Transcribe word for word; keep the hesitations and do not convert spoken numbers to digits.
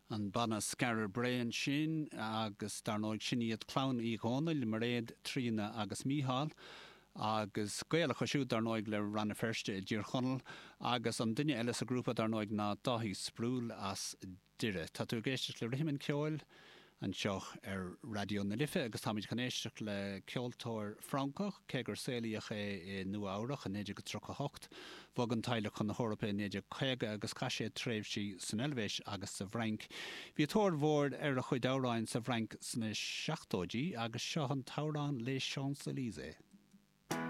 An banna Skara Brae ansin agus dar ndóigh sin iad clann Uí Dhónaill, Mairéad, Tríona agus Mícheál, agus gaol acu siúd dar ndóigh le Rann na Feirste i dTír Chonaill agus an duine eile sa ghrúpa dar ndóigh ná Dáithí Sproule as Doire. Tá tú ag éisteacht le Rithim an Cheoil anseo ar Raidió na Life agus táimid chun éisteacht le ceoltóir Francach cé gur saolaíodh é i Nua-Eabhrac i naoi déag tríocha hocht. Bhog an teaghlach chun na hEorpa i naoi déag caoga agus chaith sé tréimhsí san Eilvéis agus sa bhFrainc. Bhí tóir mhór ar a chuid amhráin sa bhFrainc sna seachtóidí agus seo an t-amhrán Les Champs-Élysées.